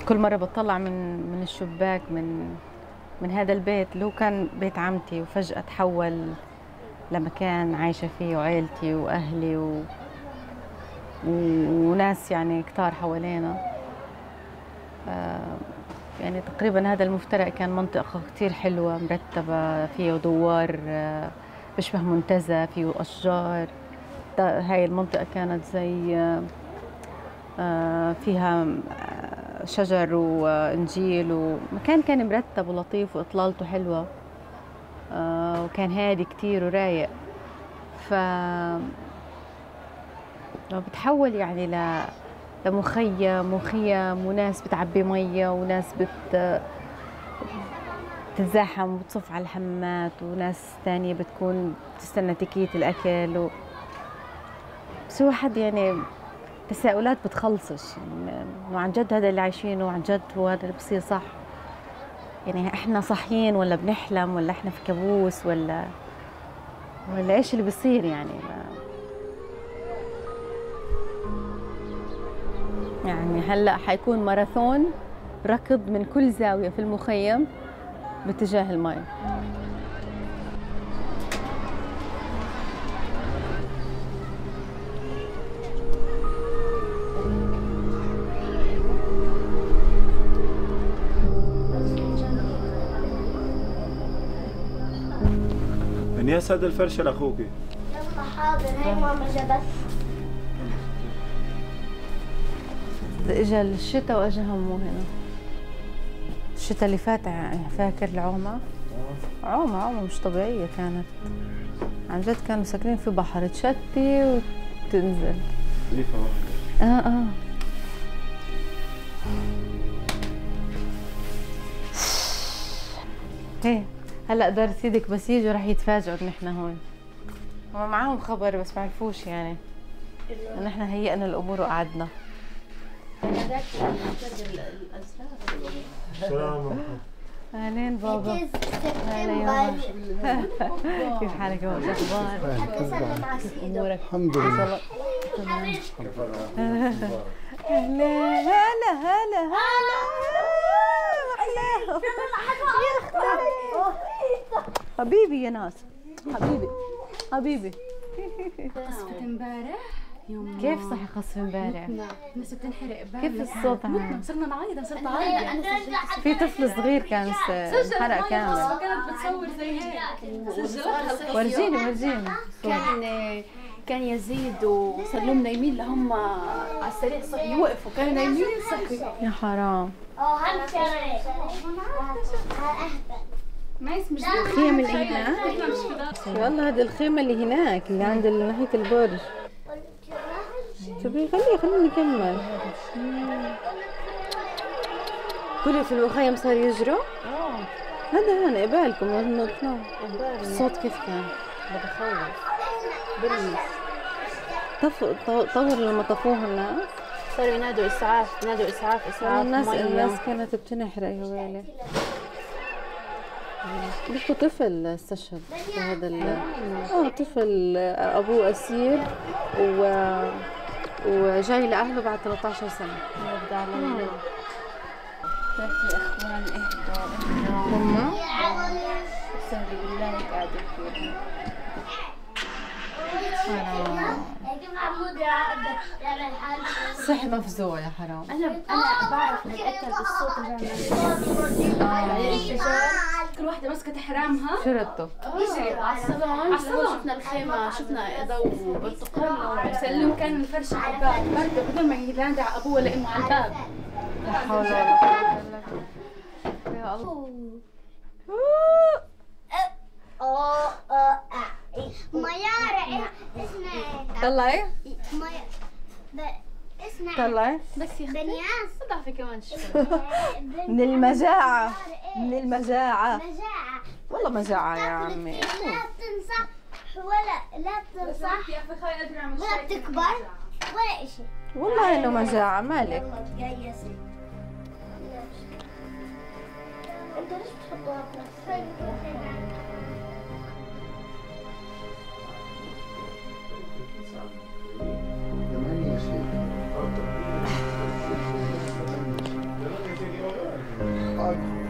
كل مرة بطلع من الشباك من هذا البيت اللي هو كان بيت عمتي، وفجأة تحول لمكان عايشة فيه وعيلتي وأهلي وناس يعني كتار حوالينا. يعني تقريبا هذا المفترق كان منطقة كتير حلوة مرتبة، فيه دوار بشبه منتزه، فيه أشجار. هاي المنطقة كانت زي فيها شجر وإنجيل، ومكان كان مرتب ولطيف وإطلالته حلوة، وكان هادي كتير ورايق. بتحول يعني لمخيم وخيم، وناس بتعبي مية، وناس بتتزاحم وبتصف على الحمامات، وناس تانية بتكون تستنى تكية الأكل بس هو حد يعني تساؤلات بتخلصش، يعني إنه عن جد هذا اللي عايشينه، وعن جد هو هذا اللي بصير صح؟ يعني إحنا صحيين ولا بنحلم، ولا إحنا في كابوس، ولا إيش اللي بيصير يعني؟ يعني هلأ حيكون ماراثون ركض من كل زاوية في المخيم باتجاه الماء. انياس هذا الفرشة لأخوكي. يلا حاضر، هاي ماما جابت. اجا الشتاء واجا همه هنا. الشتاء اللي فات فاكر العومة؟ عومة مش طبيعية كانت، عن جد كانوا ساكنين في بحر، تشتي وتنزل. ليفة واحدة. هي هلا دار سيدك بس يجوا رح يتفاجئوا ان احنا هون. هم معاهم خبر بس ما عرفوش يعني ان احنا هيئنا الامور وقعدنا. السلام. اهلين بابا. هلا يابا. كيف حالك يا بابا؟ شو اخبارك؟ امورك؟ الحمد لله. تمام. هلا هلا هلا هلا حبيبي يا ناس، حبيبي قصفة امبارح يوم. كيف صحي قصف امبارح؟ الناس بتنحرق بالنا. كيف الصوت متنا صرنا نعيط، صرت اعيط. في طفل صغير كان انحرق كامل. كانت بتصور زي هيك سجلتها. ورجيني كان يزيد وسلم نايمين لهم على السريع، صحي يوقفوا كانوا نايمين صحي. يا حرام. ما اسمش الخيم اللي هناك. والله هذه الخيمة اللي هناك اللي عند ناحية البرج. شوفي خلينا نكمل. كل في المخيم صار يجروا. هذا هون قبالكم نطلع. الصوت كيف كان؟ بتخوف. بلمس. طور لما طفوها الناس. صاروا ينادوا اسعاف، الناس كانت بتنحرق يا ويلي. بيحكوا طفل استشهد في هذا طفل ابوه اسير وجاي لاهله بعد 13 سنه. يرضى عليه. يا اخوان اهدوا هم استهدوا بالله قاعدين فيها. صح مفزوع يا حرام. انا بعرف اتاكد بالصوت اللي بعمله. كل واحدة ماسكة حرامها. شرطه يجري على الصالون. شفنا الخيمة، شفنا ضوء برتقال وسلم، كان الفرشة على الباب برده بدون ما ينادي على ابوه ولا امه على الباب. لا حول ولا قوة الا بالله. يا الله. ميارة اسمها طلعي اسمها طلعي بس يا بنياس. ضعفي كمان شوي. من المجاعة. مجاعة والله مجاعة يا عمي. لا تنصح ولا تنصح ولا بتكبر ولا اشي. والله انه مجاعة مالك. يا سيدي انت ليش بتحطوها بنفسك؟ البركة.